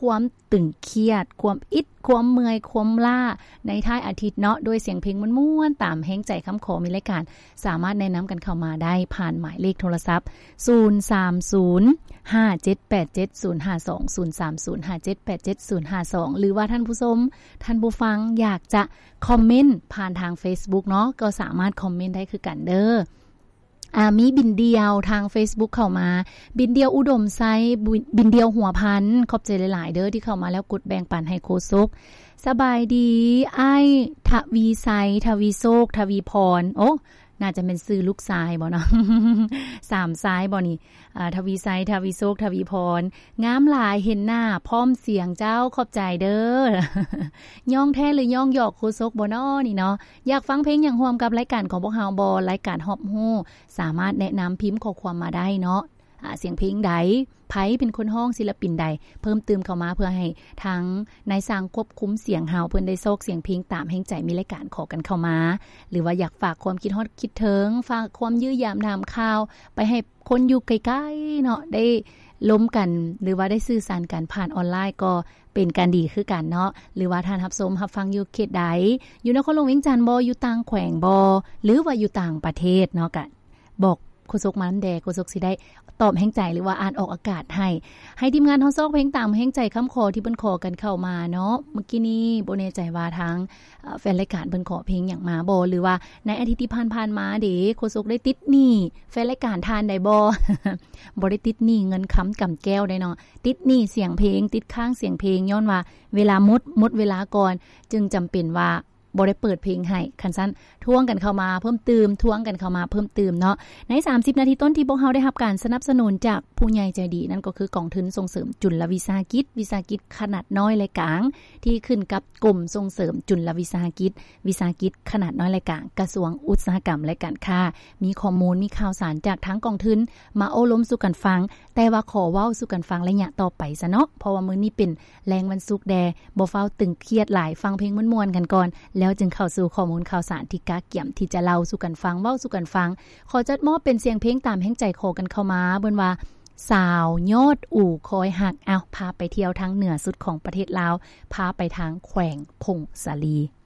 ຄວາມຕຶງຄຽດ, ຄວາມອິດ, ຄວາມເມື່ອຍ, ຄວາມລ້າ ໃນທ້າຍອາທິດເນາະ, ດ້ວຍສຽງເພງມ່ວນໆ ຕາມແຮງໃຈຄຳຂໍ. ມີລາຍການສາມາດແນະນຳກັນເຂົ້າມາໄດ້ຜ່ານໝາຍເລກໂທລະສັບ ສູນສາມສູນ ຫ້າເຈັດແປດເຈັດ ສູນຫ້າສອງ ສູນສາມສູນ ຫ້າເຈັດແປດເຈັດ ສູນຫ້າສອງ ຫຼືວ່າທ່ານຜູ້ຊົມ, ທ່ານຜູ້ຟັງ ຢາກຈະຄອມເມັນຜ່ານທາງເຟສບຸກເນາະ, ກໍສາມາດຄອມເມັນໄດ້ຄືກັນເດີ້. ອ່າ ມີບິນດ່ຽວທາງເຟສບຸກເຂົ້າມາ, ບິນດ່ຽວອຸດົມໄຊ, ບິນ ບິນດ່ຽວຫົວພັນ, ຂອບໃຈຫຼາຍໆເດີ້ທີ່ເຂົ້າມາແລ້ວກົດແບ່ງປັນໃຫ້ໂຄສົກ. ສະບາຍດີອ້າຍທະວີໄຊ, ທະວີໂຊກ, ທະວີພອນ, ໂອ້ ໜ້າຈະແມ່ນຊື່ລູກຊາຍບໍ່ເນາະ, ສາມຊາຍບໍ່ນີ້? ອ່າ ທະວີໄຊ, ທະວີໂຊກ, ທະວີພອນ, ງາມຫຼາຍ, ເຫັນໜ້າພ້ອມສຽງເຈົ້າ, ຂອບໃຈເດີ້. ຍ້ອງແທ້ຫຼືຍ້ອງຫຍອກໂຄສົກບໍ່ນໍນີ້ເນາະ? ຢາກຟັງເພງຫຍັງຮ່ວມກັບລາຍການຂອງພວກເຮົາບໍ່? ລາຍການຮອບຮູ້ ສາມາດແນະນຳພິມຂໍ້ຄວາມມາໄດ້ເນາະ. ອາ ສຽງເພງໃດ? ໃຜເປັນຄົນຮ້ອງ? ສິລະປິນໃດ? ເພີ່ມຕື່ມເຂົ້າມາເພື່ອໃຫ້ທາງນາຍຊ່າງຄວບຄຸມສຽງເຮົາ ເພິ່ນໄດ້ຊອກສຽງເພງຕາມແຮງໃຈ. ມີລາຍການຂໍກັນເຂົ້າມາ ຫຼືວ່າຢາກຝາກຄວາມຄິດຮອດຄິດເຖິງ, ຝາກຄວາມຢ້ຽມຢາມຖາມຂ່າວໄປໃຫ້ຄົນຢູ່ໄກໆເນາະ ໄດ້ລົມກັນ ຫຼືວ່າໄດ້ສື່ສານກັນຜ່ານອອນລາຍ ກໍເປັນການດີຄືກັນເນາະ. ຫຼືວ່າທ່ານຮັບຊົມຮັບຟັງຢູ່ເຂດໃດ, ຢູ່ນະຄອນຫຼວງວຽງຈັນບໍ່, ຢູ່ຕ່າງແຂວງບໍ່ ຫຼືວ່າຢູ່ຕ່າງປະເທດເນາະ, ກະ ບອກໂຄສົກມານຳແດ່, ໂຄສົກຊິໄດ້ຕອບແຮງໃຈ ຫຼືວ່າອ່ານອອກອາກາດໃຫ້. ໃຫ້ທີມງານເຮົາຊອກເພງຕາມແຮງໃຈຄຳຂໍທີ່ເພິ່ນຂໍກັນເຂົ້າມາເນາະ. ເມື່ອກີ້ນີ້ບໍ່ແນ່ໃຈວ່າທາງ ເອີ ແຟນລາຍການເພິ່ນຂໍເພງຫຍັງມາບໍ່ ຫຼືວ່າໃນອາທິດທີ່ຜ່ານໆມາເດ ໂຄສົກໄດ້ຕິດໜີ້ແຟນລາຍການທ່ານໃດບໍ່? ບໍ່ໄດ້ຕິດໜີ້ເງິນຄຳກຳແກ້ວໃດເນາະ, ຕິດໜີ້ສຽງເພງ, ຕິດຄ້າງສຽງເພງ ຍ້ອນວ່າເວລາໝົດ, ໝົດເວລາກ່ອນ ຈຶ່ງຈຳເປັນວ່າ ບໍ່ໄດ້ເປີດເພງໃຫ້. ຄັນຊັ້ນ ທວງກັນເຂົ້າມາເພີ່ມຕື່ມ, ທວງກັນເຂົ້າມາເພີ່ມຕື່ມເນາະ. ໃນສາມສິບນາທີຕົ້ນທີ່ພວກເຮົາໄດ້ຮັບການສະໜັບສະໜູນຈາກຜູ້ໃຫຍ່ໃຈດີ, ນັ້ນກໍຄືກອງທຶນສົ່ງເສີມຈຸນລະວິສາຫະກິດ, ວິສາຫະກິດຂະໜາດນ້ອຍ ແລະ ກາງ ທີ່ຂຶ້ນກັບກົມສົ່ງເສີມຈຸນລະວິສາຫະກິດ, ວິສາຫະກິດຂະໜາດນ້ອຍ ແລະ ກາງ, ກະຊວງອຸດສາຫະກຳ ແລະ ການຄ້າ. ມີຂໍ້ມູນ, ມີຂ່າວສານຈາກທາງກອງທຶນມາໂອ້ລົມສູ່ກັນຟັງ, ແຕ່ວ່າຂໍເວົ້າສູ່ກັນຟັງໄລຍະຕໍ່ໄປຊະເນາະ, ເພາະວ່າມື້ນີ້ເປັນ ແລງວັນສຸກແດ່, ບໍ່ຟ້າວຕຶງຄຽດຫຼາຍ, ຟັງເພງມ່ວນໆກັນກ່ອນ ແລ້ວຈຶ່ງເຂົ້າສູ່ຂໍ້ມູນຂ່າວສານທີ່ກະກຽມທີ່ຈະເລົ່າສູ່ກັນຟັງ, ເວົ້າສູ່ກັນຟັງ. ຂໍຈັດມອບເປັນສຽງເພງຕາມແຮງໃຈຂໍກັນເຂົ້າມາ, ເອີ້ນວ່າ ສາວຍອດອູຄອຍຮັກ. ເອົາ, ພາໄປທ່ຽວທາງເໜືອສຸດຂອງປະເທດລາວ, ພາໄປທາງແຂວງຜົ້ງສາລີ.